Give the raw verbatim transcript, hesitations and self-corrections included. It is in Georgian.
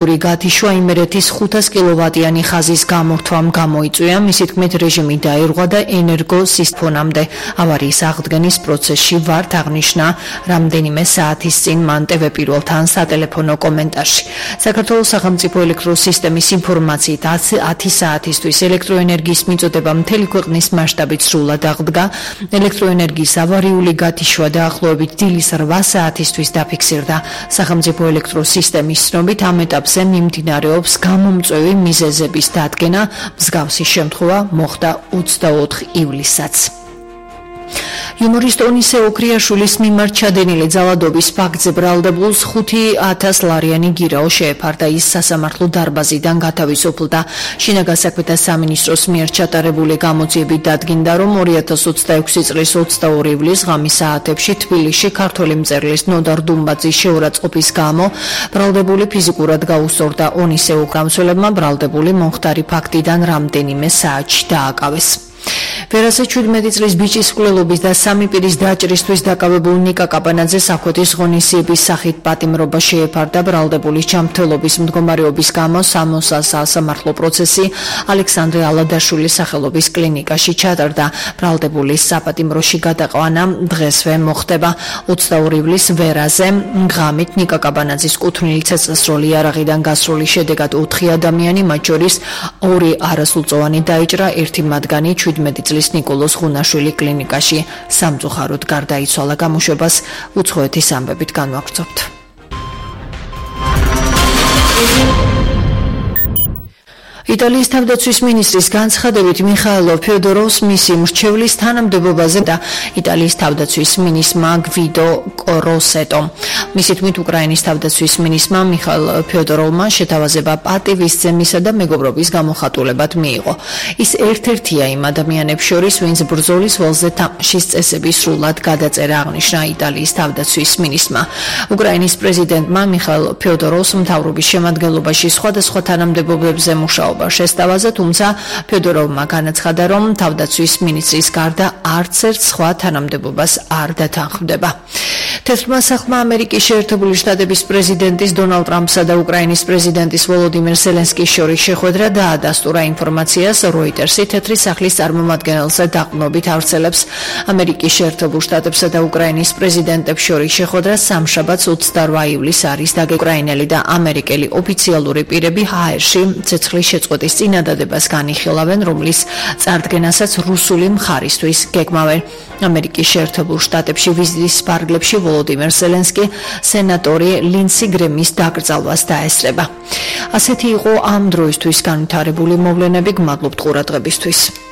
გათიშვა იმერეთის ხუთას კილოვატიანი ხაზის გამორთვამ გამოიწვია, მისი თქმით რეჟიმი დაირღვა და ენერგოსისტემამდე ავარიის აღდგენის პროცესში ვართ აღნიშნა რამდენიმე საათის წინ მან ტევ პირველთან სატელეფონო კომენტარში. საქართველოს სახელმწიფო ელექტროსისტემის ინფორმაციით ათი საათისთვის ელექტროენერგიის მიწოდება მთელი ქვეყნის მასშტაბით სრულად აღდგა. ელექტროენერგიის ავარიული გათიშვა დაახლოებით დილის რვა საათისთვის დაფიქსირდა. სახელმწიფო ელექტროსისტემის ცნობით ამ ეტაპზე მიმდინარეობს გამომწვევი მიზეზების დადგენა, მსგავსი შემთხვევა მოხდა ოცდაოთხ ივლისსაც. იუმორისტ ონისე ოქრიაშვილის მიმართ ჩადენილი ძალადობის ფაქტზე ბრალდებულს ხუთი ათას ლარიანი გირაო შეეფარდა. ის სასამართლო დარბაზიდან გათავისუფლდა. შინაგან საქმეთა სამინისტროს მიერ ჩატარებული გამოძიებით დადგინდა, რომ ორი ათას ოცდაექვსი წლის ოცდაორი ივლისს ღამის საათებში თბილისში ქართველი მწერლის ნოდარ დუმბაძის შეურაცხყოფის გამო ბრალდებული ფიზიკურად გაუსწორდა. ონისე ოქრამცველებმა ბრალდებული მომხდარი ფაქტიდან რამდენიმე საათში დააკავეს. ვერასე ჩვიდმეტი წლის ბიჭის მკვლელობის და სამი პირის დაჭრისთვის დაკავებულ ნიკა კაპანაძეს ახოთის ღონისძიების სახით პატიმრობა შეეფარდა. ბრალდებულის ჯანმრთელობის მდგომარეობის გამო სამოსასამართლო პროცესი ალექსანდრე ალადაშვილის სახელობის კლინიკაში ჩატარდა. ბრალდებულის საპატიმროში გადაყვანა დღესვე მოხდება. ოცდაორი ივლისს ვერაზე ღამით ნიკა კაპანაძის კუთვნილი ცეცხლსროლი იარაღიდან გასროლის შედეგად ოთხი ადამიანი, მათ შორის ორი არასრულწლოვანი დაიჭრა, ერთი მათგანი ჩვიდმეტი წლის ნიკოლოზ ღუნაშვილი კლინიკაში სამწუხაროდ გარდაიცვალა. გამოშვებას უცხოეთის ამბებით განვაგრძობთ. იტალიის თავდაცვის მინისტრის განცხადებით მიხაილო ფიოდოროვს მისი მრჩევლის თანამდებობაზე და იტალიის თავდაცვის მინისტრმა გვიდო კოროსეტომ. მისი თქმით, უკრაინის თავდაცვის მინისტრმა მიხაილ ფიოდოროვმა შეთავაზება პატივისცემისა და მეგობრობის გამოხატულებად მიიღო. ის ერთ-ერთია იმ ადამიანებს შორის, ვინც ბრძოლის ველზე თამაშის წესების სრულად გადაწერა, აღნიშნა იტალიის თავდაცვის მინისტრმა. უკრაინის პრეზიდენტმა მიხაილ ფიოდოროვს მთავრობის შემადგენლობაში სხვადასხვა თანამდებობებზე მუშაობა შესთავაზა, თუმცა ფიოდოროვმა განაცხადა, რომ თავდაცვის მინისტრის გარდა არც ერთ სხვა თანამდებობას არ დათანხმდება. თეთრმა სახლმა ამერიკის შეერთებული შტატების პრეზიდენტის დონალდ ტრამპსა და უკრაინის პრეზიდენტის ვოლოდიმირ ზელენსკის შორის შეხვედრა დაადასტურა. ინფორმაციას როიტერსი თეთრი სახლის წარმომადგენელზე დაყრდნობით ავრცელებს. ამერიკის შეერთებულ შტატებსა და უკრაინის პრეზიდენტებს შორის შეხვედრა სამშაბათს ოცდარვა ივლისს არის დაგეგმილი. უკრაინელი და ამერიკელი ოფიციალური პირები ჰაერში ცეცხლის შეწყვეტის წინადადებას განიხილავენ, რომლის წარდგენასაც რუსული მხარისთვის გეგმავენ. ამერიკის შეერთებულ შტატებში ვიზიტის ფარგლებში ვოლოდიმირ ზელენსკი სენატორი ლინსი გრემის დაკრძალვას დაესწრება. ასეთი იყო ამ დროისთვის განვითარებული მოვლენები. გმადლობთ ყურადღებისთვის.